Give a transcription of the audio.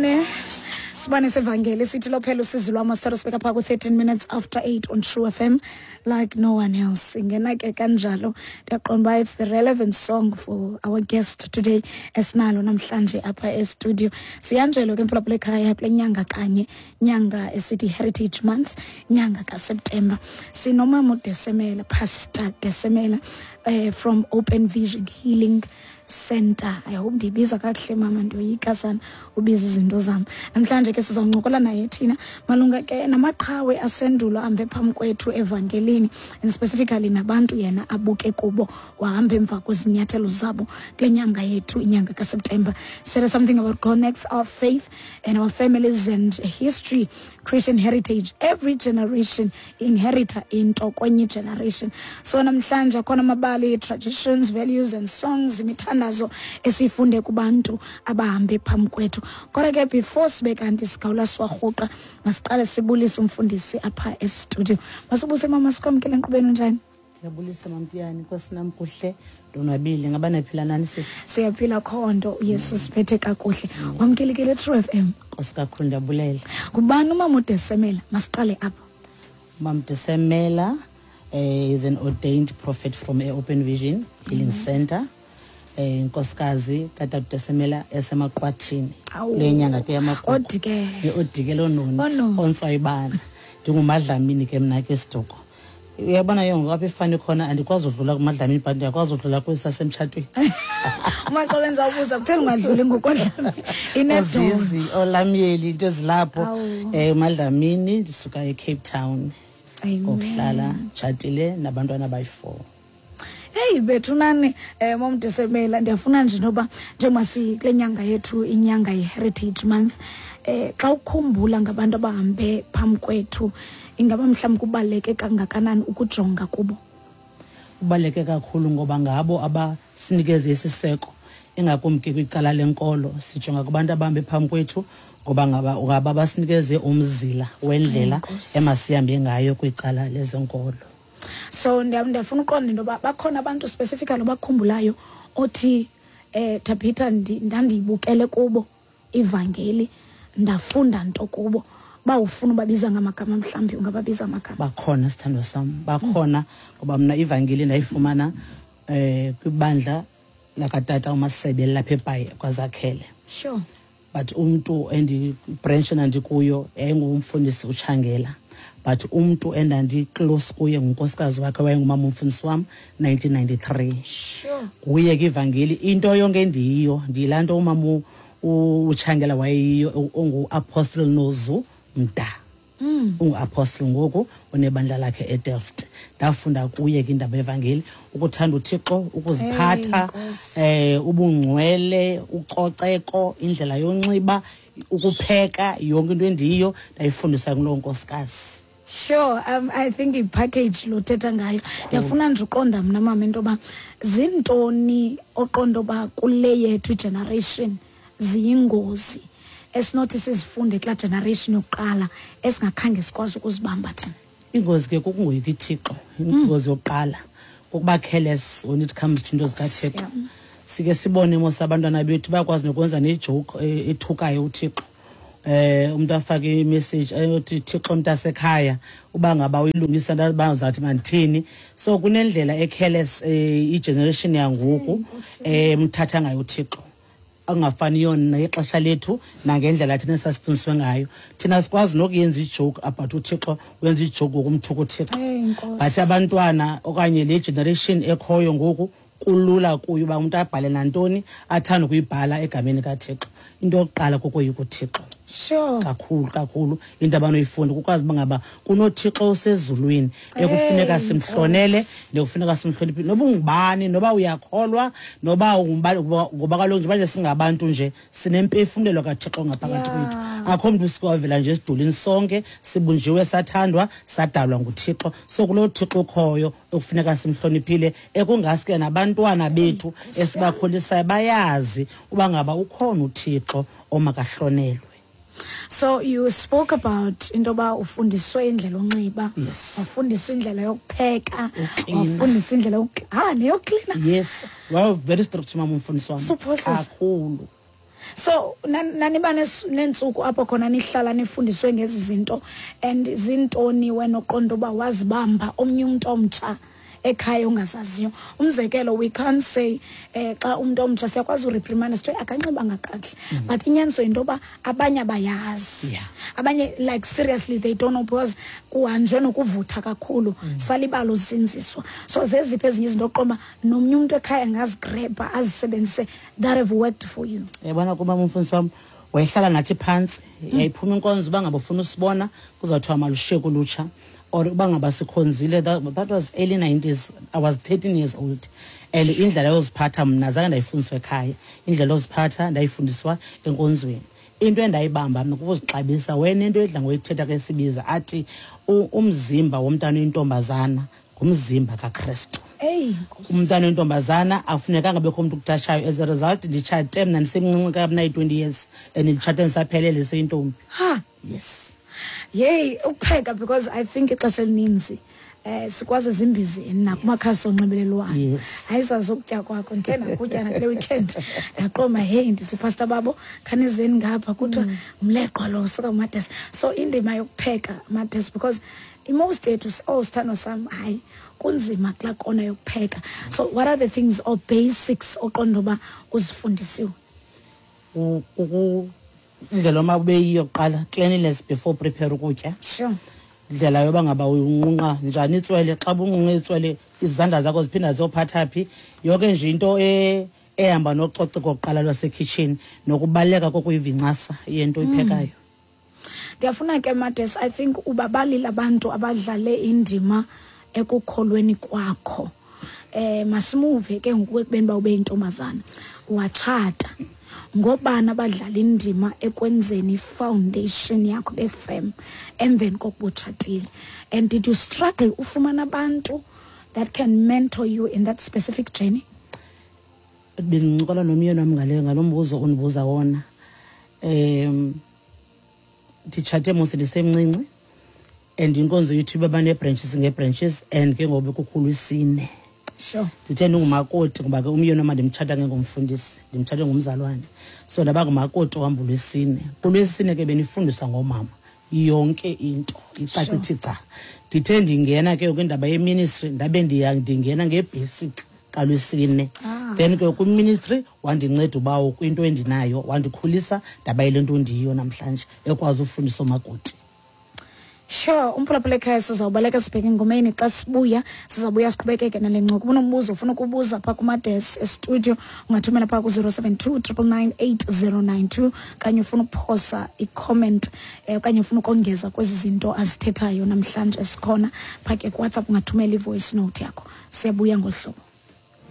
Sibane, sibane sevangeli sithi lophela usizi lwam. Sithatha sibeka phaa ku-13 minutes after 8 on True FM, "Like No One Else". Ingena ke kanjalo, ndiyaqonda uba it's the relevant song for our guest today esinalo namhlanje apha e-studio. Siyanjelo ke, mphulaphula ekhaya, kule nyanga kanye, nyanga esithi Heritage Month, nyanga kaSeptemba, sinomama uDesemela, Pastor Desemela, from Open Vision Healing Center. I hope ndiyibiza kakuhle, mama. Ndiyoyika sana ubiza izinto zam. Namhlanje ke sizawuncokola naye thina malunga ke namaqhawe asendulo ahambe phambi kwethu evangelini, and specifically nabantu yena abuke kubo, wahamba emva kwezinyathelo zabo. Kule nyanga yethu, inyanga kaSeptemba, said something about connects our faith and our families and history, Christian heritage. Every generation inherita into kwenye generation. So namhlanje akhona amabali, traditions, values and songs, imithandazo esifunde kubantu abahambe phambi kwethu. Kodwa ke before sibe kanti sigawula siwarhuqa, masiqale sibulise umfundisi apha e-studio. Masibuse, mama, sikwamkele enkqubeni. Unjani? Ndiyabulisa, Mamtiyani. Nkosi nam, kuhle, ndonwabile. Ngaba naphila nani, sisi? Siyaphila khondo, uYesu siphethe kakuhle. Wamkelekile True FM. Nkosi kakhulu, ndiyabulela. Ngubani umama uDesemela? Masiqale apho. Mam Desemela is an ordained prophet from a Open Vision Healing Center, inkosikazi katata Desemela esemaqwathini. Awu. Kule nyanga ke yamagugu. Odike. Odike lononi. Ononi. Ontswayibana. Ndingumadlamini ke mna ke, siduko. Uyabona ke ngoku apha ifani khona, andikwazi udlula kumadlamini, but ndiyakwazi udlula kwisasemtshatweni. Umaxa wenza ubuza kutheni ungadluli ngokodlami inedolo. Ozizi, olamyeli, into ezilapho. Awu. Madlamini, ndisuka eCape Town. Amen. Ngokuhlala tshatile nabantwana abayi-4. Heyi bethunani, momDesemela, ndiyafuna nje noba njengoba sikule nyanga yethu, inyanga ye-Heritage Month, xa ukhumbula ngabantu abahambe phambi kwethu, ingaba mhlawumbi kubaluleke kangakanani ukujonga kubo? Kubaluleke kakhulu, ngoba ngabo abasinikeze isiseko, ingakumbi ke kwicala lenkolo. Sijonga kubantu abahambe phambi kwethu ngoba ngaba basinikeze umzila wendlela Enkosi. emasihambe ngayo kwicala lezenkolo. So ndiyafuna uqonda into yoba bakhona abantu specifically obakhumbulayo othi, Tabitha, ndandiyibukele kubo ivangeli, ndafunda nto kubo, bawufuna ubabiza ngamagama, mhlawumbi ungababiza amagama? Bakhona, sithandwa sam, bakhona, ngoba mna ivangeli ndayifumana kwibandla lakatata uMasebe lapha eBhayi kwaZakhele. But umntu endi-branch endandikuyo yayingumfundisi uTshangela, but umntu endandi-close kuye ngunkosikazi wakhe, wayengumama umfundisi wam 1993. Nguye ke ivangeli, into yonke endiyiyo ndiyilaa nto umama uTshangela wayeyiyo, ungu-Apostle Nozu Mda. Ungu-apostle ngoku, unebandla lakhe eDelft. Ndafunda kuye ke indaba yevangeli, ukuthanda uThixo, ukuziphatha, Hey, Nkosi. Ubungcwele, ucoceko, indlela yonxiba, ukupheka, yonke into endiyiyo ndayifundisa kuloo nkosikazi. Sure, I think i-package lo thetha ngayo. Ndiyafuna nje uqonda mna, mama, into yoba zintoni oqonda uba kule yethu generation ziyingozi esinothi sizifunde kulaa generation yokuqala esingakhange sikwazi ukuzibamba thina. Ingozi ke kukungoyiki ithixo. Ingozi yokuqala kukuba careless when it comes to into zikaThixo. Sike sibone mos abantwana bethu bayakwazi nokwenza ne-joke ethukayo uThixo. Umuntu afake i-message eyothi, "Thixo mntasekhaya, uba ngaba uyilungisa bazathi mandithini?" So kunendlela e-careless i-generation yangoku mthatha ngayo uThixo, angafaniyo nexesha lethu nangendlela thina sasifundiswe ngayo. Thina sikwazi nokuyenza i-joke about uThixo, wenza i-joke ngokumthuka uThixo. Hey, Nkosi. But abantwana okanye le generation ekhoyo ngoku, kulula kuyo uba umntu abhale nantoni athanda ukuyibhala egameni kaThixo. Into yokuqala kukoyika uThixo. Kakhulu kakhulu, into abanoyifunda kukwazi uba ngaba kunoThixo osezulwini ekufuneka Hey, simhlonele Nkosi. nekufuneka simhloniphe, noba ungubani, noba uyakholwa, noba ungubani, ngoba kaloku nje manje singabantu nje sinempefumlelo kaThixo ngaphakathi kwethu. Akho mntu usuke wavela nje esidulini, sonke sibunjiwe, sathandwa, sadalwa nguThixo. So kuloo Thixo ukhoyo ekufuneka simhloniphile, ekungaske nabantwana bethu esibakhulisayo bayazi uba ngaba ukhona uThixo omakahlonelwe. So you spoke about into yoba ufundiswe indlela onxiba, wafundiswa indlela yokupheka, Uklina. wafundiswa indlela neyoklina. Yes, well, very strict mama umfundisi wam. So process. Kakhulu. So naniba neentsuku apho khona nihlala nifundiswe ngezi zinto, and zintoni wena oqonda uba wazibamba omnye umntu omtsha ekhaya ongazaziyo? Umzekelo, we can't say xa umntu omtsha siyakwazi ureprimanda, sithiwe akanxibanga kakuhle, but inyaniso yinto yoba abanye abayazi. Abanye, like, seriously, they don't know because kuhanjwe nokuvutha kakhulu, salibala uzinziswa. So zeziphi ezinye izinto oqonda uba nomnye umntu ekhaya angazigrabha azisebenzise that have worked for you? Yabona, kuba umfundisi wam wayehlala nathi phantsi. Yayiphuma inkonzo, uba ngaba ufuna usibona, kuzawuthiwa malushiye kulutsha, or uba ngaba sikhonzile. That was early 90s. I was 13 years old, and indlela yoziphatha mna zange ndayifundiswa ekhaya. Indlela yoziphatha ndayifundiswa enkonzweni. Into endayibamba mna kukuzixabisa. Wena, into edla ngoyithetha ke sibiza athi umzimba womntana oyintombazana ngumzimba kaKrestu. Eyi Nkosi. Umntana oyintombazana akufunekanga bekho umntu ukutashayo. As a result, nditshate mna ndisemncinci ka mna yi-20 years, and nditshate ndisaphelele seyintombi. Ha. Yes. Yeyi, ukupheka, because I think ixesha elininzi sikwazi ezimbizeni nakumakhasi onxibelelwano. Ayizazi ukutya kwakho. Ndikhe ndakutya nakule weekend, ndaqoma, heyi, ndithi, "Pastor babo, khanizeni ngapha." Kuthiwa umleqwa lo suka kuMades. So indima yokupheka, Mades, because imost yethu, oh, sithando sam, hayi, kunzima kulaa kona yokupheka. So what are the things or basics oqonda uba uzifundisiwe? Indlela oma ube yiyo kuqala, cleanliness before prepare ukutya. Indlela yoba ngaba uyinqunqa njani itswele, xa bunqunqa itswele izandla zakho ziphinda ziyophatha phi, yonke nje into ehamba nococeko kuqala lwasekhitshini, nokubaluleka kokuyivincasa yento oyiphekayo. Ndiyafuna ke, Mades, I think ubabalile abantu abadlale indima ekukholweni kwakho. Masimuve ke ngoku ekubeni uba ube yintombazana, watshata, ngobani abadlala indima ekwenzeni ifoundation yakho befem emveni kokuba utshatile? And did you struggle ufumana abantu that can mentor you in that specific journey? Bendincokola nomyeni wam ngalo mbuzo undibuza wona. Nditshate mos ndisemncinci, and inkonzo yethu iba banee-branches ngee-branches, and ke ngoku bekukhulu isine. Ndithe ndingumakoti, ngoba ke umyeni wam andimtshata ngengomfundisi, ndimtshate ngumzalwane, so ndaba ngumakoti ohamba ulwesine. Kulwesine ke benifundiswa ngoomama yonke into icace ithi ca. Ndithe ndingena ke kwindaba yeministry, ndabe ndingena ngebasic kalwesine. Then ke kwiministry wandinceda ubawo kwinto endinayo, wandikhulisa ndaba yile nto ndiyiyo namhlanje, ekwazi ufundisa oomakoti. Sure, umphulaphula ekhaya, sizawubaleka sibheke engomeni. Xa sibuya, sizawubuya siqhubekeke nale ncoko. Unombuzo ufuna ukubuza phaa kuMades estudio, ungathumela phaa ku-072 999 8092, okanye ufuna ukuphosa icomment, okanye ufuna ukongeza kwezi zinto azithethayo namhlanje, esikhona phaa ke kuWhatsApp, ungathumela i-voice note yakho. Siyabuya ngolu hlobo.